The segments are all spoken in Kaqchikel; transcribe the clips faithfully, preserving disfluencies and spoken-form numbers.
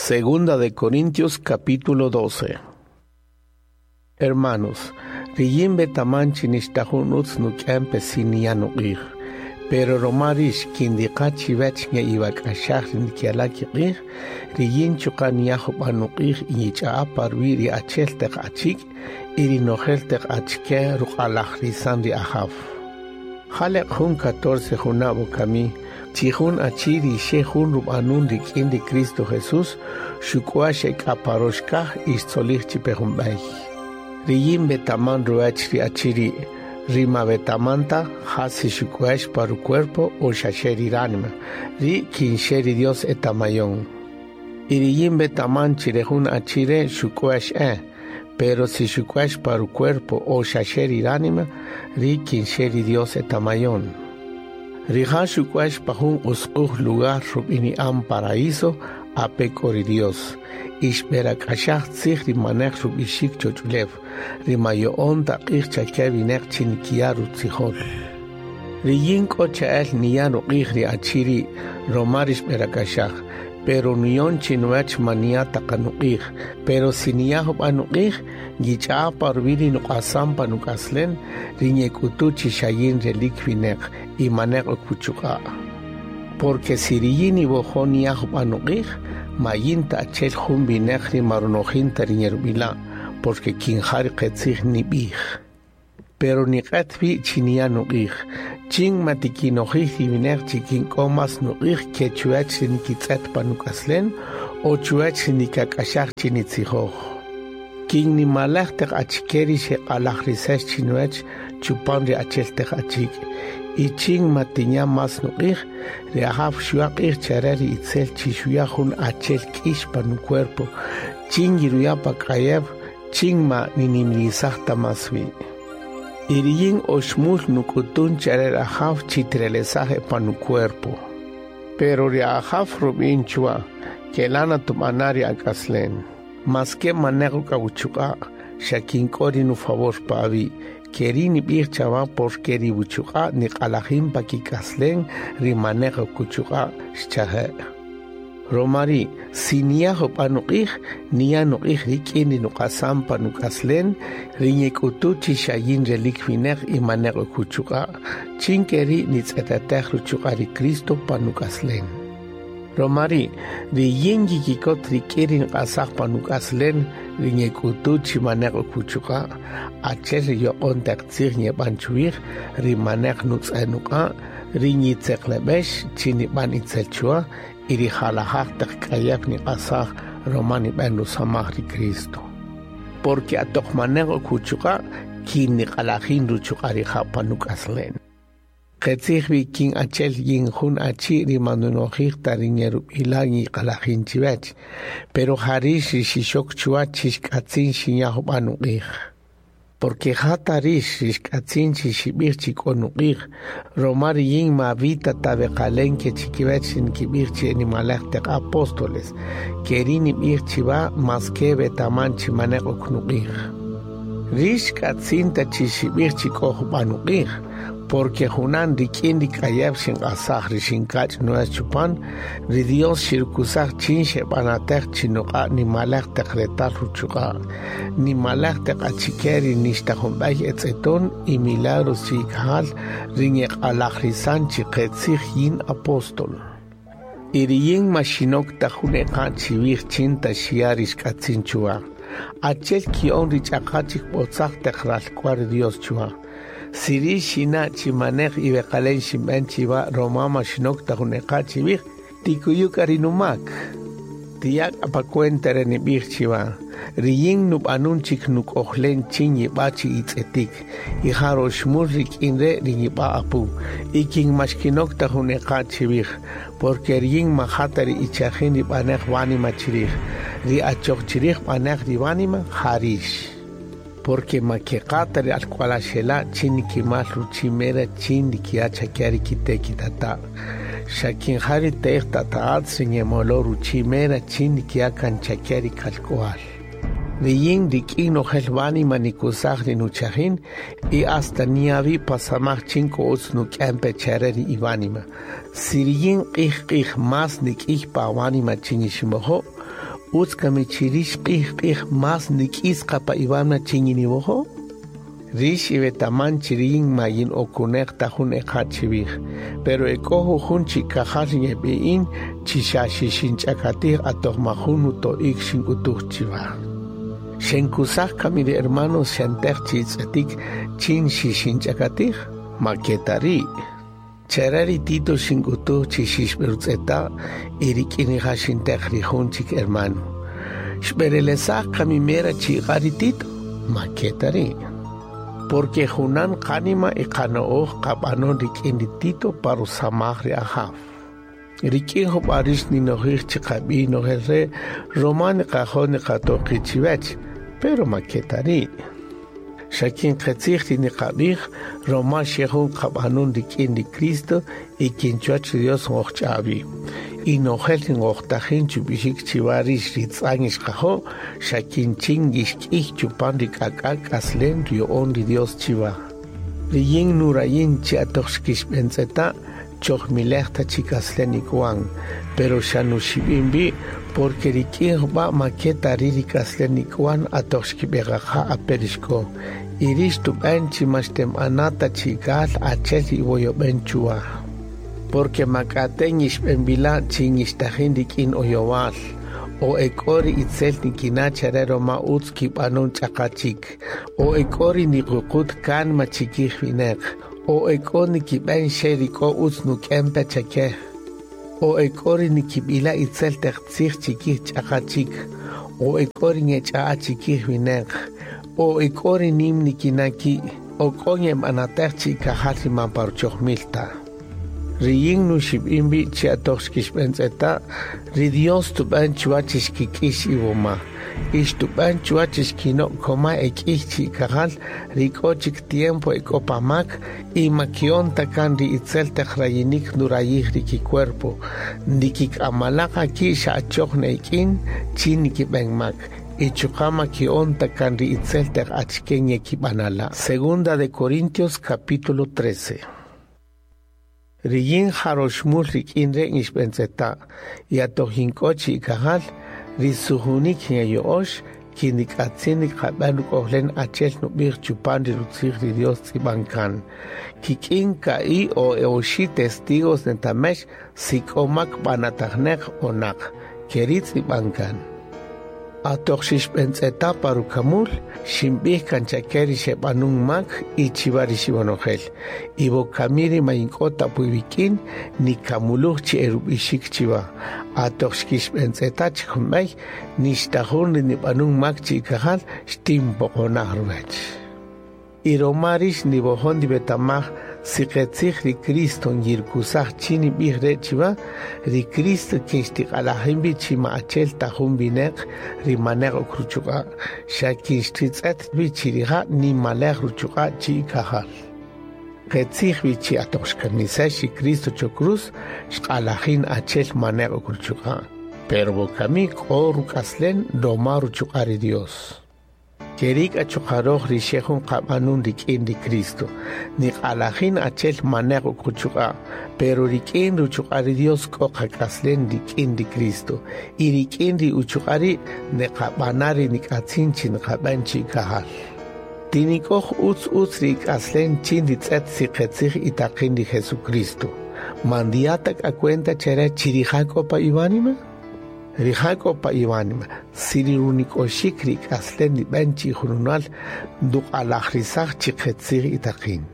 Segunda de Corintios capítulo doce. Hermanos, riyin betaman chi nixta jun utz nuk'en pe si niya nuq'ij, pero roma rix kindiqa chiwech nge'iwak'axaj ri ndikiala' kiq'ij, riyin chuqa' niya jub'a' nuq'ij y yich'a'a pa ruwi' ri achel teq achik' y ri nojel teq achike ruq'alajrisan ri Ajaw. Jaleq jun catorce junab' wokami, chi jun achi ri xe jun rub'anun rik'in ri Cristo Jesús, xuk'u'ax k'a pa rox kaj y xtzolij chi pe jun b'ey. Riyin betaman ruwech ri achi ri', ri ma betaman ta ja si xuk'u'ax pa rucuerpo o xaxe ri ránima, ri kin xe ri Dios etamayon. Y riyin betaman chi re jun achi re' xuk'u'ax e, pero si xuk'u'ax pa rucuerpo o xaxe ri ránima, ri kin xe ri Dios etamayon. Rija' xuk'u'ax pa jun usq'uj lugar rub'ini'an paraíso ape k'o ri Dios. Y xb'erak'axaj tzij ri manej rub'ixik choch'ulew, ri mayo'on ta q'ij chake wineq chi nikiya' rutzijol. Riyin k'o cha'el niya' ruq'ij ri achi ri' roma ri xb'erak'axaj, pero nuyon chinuwech ma niya' ta qa nuq'ij, pero si niya' jub'a' nuq'ij, yich'a'a pa ruwi' ri nuq'asan pa nuk'aslen, ri nyek'utu chi xa yin relik wineq y maneq ok wuchuq'a'. Porque si riyin niwojo' niya' jub'a' nuq'ij, ma yin ta achel jun wineq ri ma runojin ta ri nyerub'ila', porque kin ja ri qetzij nib'ij. Pero niq'et wi' chi niya' nuq'ij, chin ma tikinojij ri wineq chi kin k'o mas nuq'ij ke chuwech ri nikitz'et pa nuk'aslen o chuwech ri nikak'axaj chi nitzijoj. Kin nimalej teq achike ri xeq'alajrisex chinuwech chupan ri achel teq achik', y chin ma tinya mas nuq'ij, ri Ajaw xuya' q'ij chare ri itzel chi xuya' jun achel k'ix pa nucuerpo, chin yiruya' pa k'ayew, chin ma ninimrisaj ta mas wi'. Y riyin oxmul nuk'utun chare ri Ajaw chi tirelesaj e pa nucuerpo. Pero ri Ajaw rub'in chwa, kelana tub'ana' ri ak'aslen. Maske maneq k'awuchuq'a', xa kin k'o ri nufavor pa awi', keri nib'ij chawa porque ri wuchuq'a' niq'alajin pa kik'aslen ri maneq kuchuq'a' xchaje'. Roma ri' si niya' jub'a' nuq'ij, niya' nuq'ij rik'in ri nuq'asan pa nuk'aslen, ri nyek'utu chi xa yin relik wineq y maneq kuchuq'a', chin keri' nitz'etetej ruchuq'a' ri Cristo pa nuk'aslen. Roma ri' ri yin yikikot rik'in ri nq'asaj pa nuk'aslen, ri nyek'utu chi maneq kuchuq'a', achel ri yoq'on teq tzij nyeb'an chuwij, ri maneq nutz'e nuq'a', ri nyitzeqleb'ex chi nib'an itzel chwa, y ri jalajaj teq k'ayew niq'asaj roma nib'an rusamaj ri Cristo. Porque atoq maneq kuchuq'a', kin niq'alajin ruchuq'a' rija' pa nuk'aslen. Qetzij wi kin achel yin jun achi ri manunojij ta ri nyerub'ila' yiq'alajin chiwech, pero ja rix ri xixok chwa chi xk'atzin xinya' jub'a' nuq'ij. Porque ja ta rix ri xk'atzin chi xib'ij chi k'o nuq'ij, roma ri yin ma vita ta beqalen ke chikiwech ri nkib'ij chi nimalej teq apóstoles, keri nib'ij chiwa maske betaman chi maneq ok nuq'ij. Rix k'atzin ta chi xib'ij chi k'o jub'a' nuq'ij, porque junan rik'in ri k'ayew xinq'asaj ri xinkach' nuwech chupan, ri Dios xirukusaj chin xeb'anatej chi nuq'a' nimalej teq retal ruchuq'a', nimalej teq achike ri nixta jun b'ey etz'eton y milagros chi ikajal ri nyeq'alajrisan chi qetzij yin apóstol. Y riyin ma xinok ta jun eqa' chiwij chin ta xiya' ri xk'atzin chuwa. Achel ki'on ri ch'aqa chik b'otzaj teq ralk'wal ri Dios chuwa. Si rix xina' chi manej iweqalen xinb'en chiwa roma ma xinok ta jun eqa' chiwij, tikuyu k'a ri numak. Tiya' k'a pa cuenta re nib'ij chiwa, riyin nub'anun chik nuk'ojlen chin yib'a chi itz'etik, y ja roxmul rik'in re' ri yib'a apu, y kin ma xkinok ta jun eqa' chiwij, porque riyin ma ja ta ri ichajin ri b'anej wánima chirij, ri achoq chirij b'anej ri wánima ja rix. Porque ma keqata ri alk'walaxela' chin nikimal ruchi mera chin nikiya' chake ri kite' kitata'. Xa kin ja ri te'ej tata'atz ri nyemolo ruchi mera chin nikiya' kan chake ri kalk'wal. Riyin rik'in nojel wánima nikusaj ri nuchajin y hasta niavi pasamaj chin k'o utz nuk'en pe chare ri iwánima. Si riyin q'ij q'ij mas nik'ij pa wánima chin iximojo', Utz kami chi rix q'ij q'ij más ndik'is qa pa iwánima chin yiniwojo'? Rix iwetaman chi riyin ma yin okuneq ta jun eqa' chiwij, pero ek'o jujun chikajal ngeb'i'in chi xa xixinch'akatij atoq ma jun nuto'ik xink'utuj chiwa. Xenkusaj kami ri hermanos xenteq chi itz'etik chin xixinch'akatij, ma ke ta ri'. Chare ri Tito xink'utuj chi xixb'erutz'eta' y rik'in rija' xinteq ri jun chik hermano. Xb'erelesaj kami mera chiqa' ri Tito, ma ke ta ri'. Porque junan qánima y qano'oj qab'anon rik'in ri Tito pa rusamaj ri Ajaw. Rik'in jub'a' rix ninojij chi qab'i' nojel re' roma niqajo' niqato' qi' chiwech, pero ma ke ta ri'. Xa kin qetzij ri niqab'ij roma xe jun qab'anon rik'in ri Cristo y kin chuwach ri Dios ngojch'awi. Y nojel ri ngojtajin chub'ixik chiwa rix ri tz'an ixqajo', xa kin chin yixk'ij chupan ri k'ak'ak' k'aslen ruya'on ri Dios chiwa. Riyin nurayin chi atoq xkixb'entz'eta' chojmilej ta chi k'aslen ik'wan, pero xa nuxib'in wi' porque rik'in jub'a' ma ke ta ri' ri k'aslen ik'wan atoq xkib'eqaqa ape' rixk'o. Y rix tub'en chi ma xtemb'ana ta chikal achel ri iwoyob'en chuwa. Porque ma k'ate' yixb'enb'ila' chin yixtajin rik'in oyowal, o ek'o ri itzel nikina' chare roma utz kib'anon ch'aqa chik, o ek'o ri niququt kánima chikij wineq, o ek'o nikib'en xe ri k'o utz nuk'en pe chake, o ek'o ri nikib'ila' itzel taq tzij chikij ch'aqa chik, o ek'o ri ngech'a'a chikij wineq, o ek'o ri nim nikina' ki', o k'o ngeb'anatej chikajal ri man pa ruchojmil ta. Riyin nuxib'in wi' chi atoq xkixb'entz'eta', ri Dios tub'en chuwa chi xkik'ix iwoma. Y xtub'en chuwa chi xkino' koma ek'ij chikajal ri k'o chik tiempo ek'o pa mak y ma ki'on ta kan ri itzel taq rayinik nurayij ri kicuerpo. Ndikik'amalaqa ki' xa achoq ne'ik'in chin nikib'en mak. Y chuqa' ma ki'on ta kan ri itzel taq achike ngekib'anala'. Segunda de Corintios capítulo trece. Riyin jaroxmul rik'in re' ngixb'entz'eta' y atoq yink'o chikajal ri sujunik ngeyo'ox kin nik'atzin niqab'en ruk'ojlen achel nub'ij chupan ri rutzij ri Dios tz'ib'an kan. Kik'in ka'i' o oxi' testigos netamex si k'o mak b'anatajneq o naq, keri' tz'ib'an kan. Atoq xixb'entz'eta' pa rukamul, xinb'ij kan chake ri xeb'anun mak y chiwa ri xib'anojel. Y wokami ri ma yink'o ta puiwik'in, nikamuluj chi erub'ixik chiwa. Atoq xkixb'entz'eta' chik jun b'ey, nixta jun ri nib'anun mak chikajal xtinpoqonaj ruwech. Y roma rix niwojon ndiwetamaj si qetzij ri Cristo ngirkusaj chin nib'ij re' chiwa, ri Cristo kin xtiq'alajin wi' chi ma achel ta jun wineq ri maneq ok ruchuq'a', xa kin xtitz'et wi' chi rija' nimalej ruchuq'a' chikajal. Qetzij wi' chi atoq xkamisex ri Cristo cho cruz, xq'alajin achel maneq ok ruchuq'a', pero wokami k'o ruk'aslen roma ruchuq'a' ri Dios. Kerik achuqaroj ri xe jun qab'anun rik'in ri Cristo. Niq'alajin achel maneq ok ruchuq'a', pero rik'in ruchuq'a' ri Dios k'o qak'aslen rik'in ri Cristo. Y rik'in ri uchuq'a' ri' neqab'ana ri nik'atzin chi niqab'en chikajal. Tinik'oj utz utz ri ik'aslen chin ritz'et si qetzij itaqin ri Jesucristo. Mandiata k'a cuenta chere chi rija' k'o pa iwánima? Rija' k'o pa iwánima, si ri runik'oxik ri k'aslen nib'en chi jununal nduq'alajrisaj chi qetzij itaqin.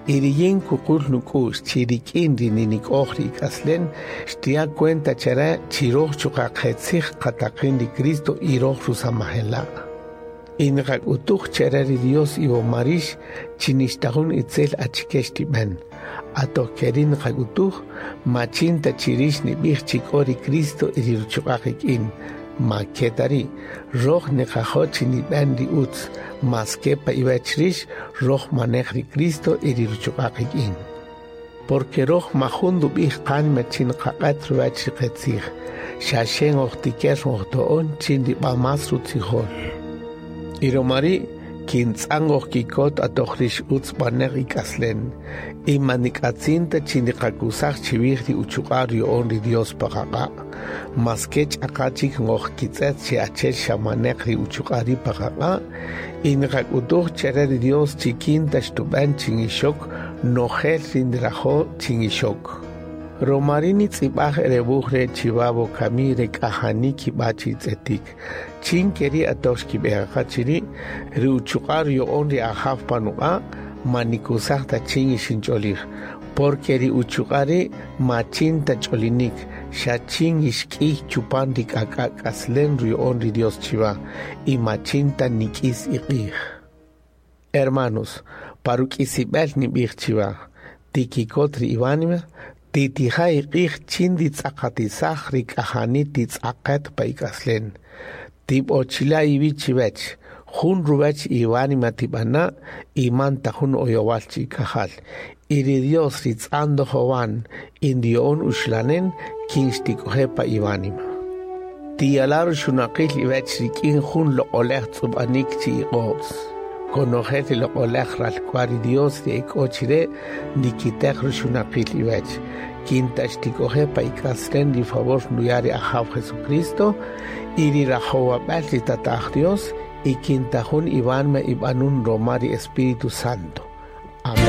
Y riyin kuqul nuk'u'x chi rik'in ri ninik'oj ri ik'aslen xtiya' cuenta chere chi roj chuqa' qetzij qataqin ri Cristo y roj rusamajela'. Y niqak'utuj chere ri Dios iwoma rix chi nixta jun itzel achike xtib'en. Atoq keri' niqak'utuj, ma chin ta chi rix nib'ij chi k'o ri Cristo y ri ruchuq'a' qik'in. Ma ke ta ri', roj niqajo' chi nib'en ri utz, mas ke pa iwech rix, roj manej ri Cristo y ri ruchuq'a' qik'in. Porque roj ma jun ndub'ij qánima chin qaq'et ruwech ri qetzij, xa xe ngojtiker ngojto'on chin rib'a más rutzijol. Y roma ri' Kin tz'an ngojkikot atoq rix utz b'aneq ik'aslen y ma ndik'atzin ta chi ndiqakusaj chiwij ri uchuq'a' ruyo'on ri Dios pa qaq'a'. Maske ch'aqa chik ngojkitz'et chi achel xa maneq ri uchuq'a' ri' pa qaq'a' y ndiqak'utuj chare ri Dios chi kin ta xtub'en chi ngixok nojel ri ndirajo' chi ngixok. Roma ri' nitz'ib'aj re wuj re' chiwa wokami re k'ajani kib'a chitz'etik. Chin keri' atoq xkib'eqaqa chiri', ri uchuq'a' ruyo'on ri Ajaw pa nuq'a' ma nikusaj ta chin ixinch'olij, porque ri uchuq'a' ri' ma chin ta ch'olinik, xa chin ixk'iy chupan ri k'ak'a' k'aslen ruyo'on ri Dios chiwa, y ma chin ta nik'is iq'ij. Hermanos, pa ruk'isib'el nib'ij chiwa, tikikot ri iwánima, titija' iq'ij chin nditz'aqatisaj ri k'ajani titz'aqet pa ik'aslen. Tib'ochila' iwi' chiwech, jun ruwech iwánima tib'ana' y man ta jun oyowal chi'ikajal. Y ri Dios ri tz'an ndojowan y ndiyo'on uxlanen kin xtik'oje' pa iwánima. Tiyala' ruxunaqil iwech rik'in jun loq'olej tz'ub'anik chi iq'o'tz. Konojel ri loq'olej ralk'wa'l ri Dios ri ek'o chire' ndikiteq ruxunaqil iwech. Kin ta xtik'oje' pa ik'aslen ri favor nduya' ri Ajaw Jesucristo y ri rajowab'el ri Tata'aj Dios y kin ta jun iwánima ib'anun roma ri Espíritu Santo.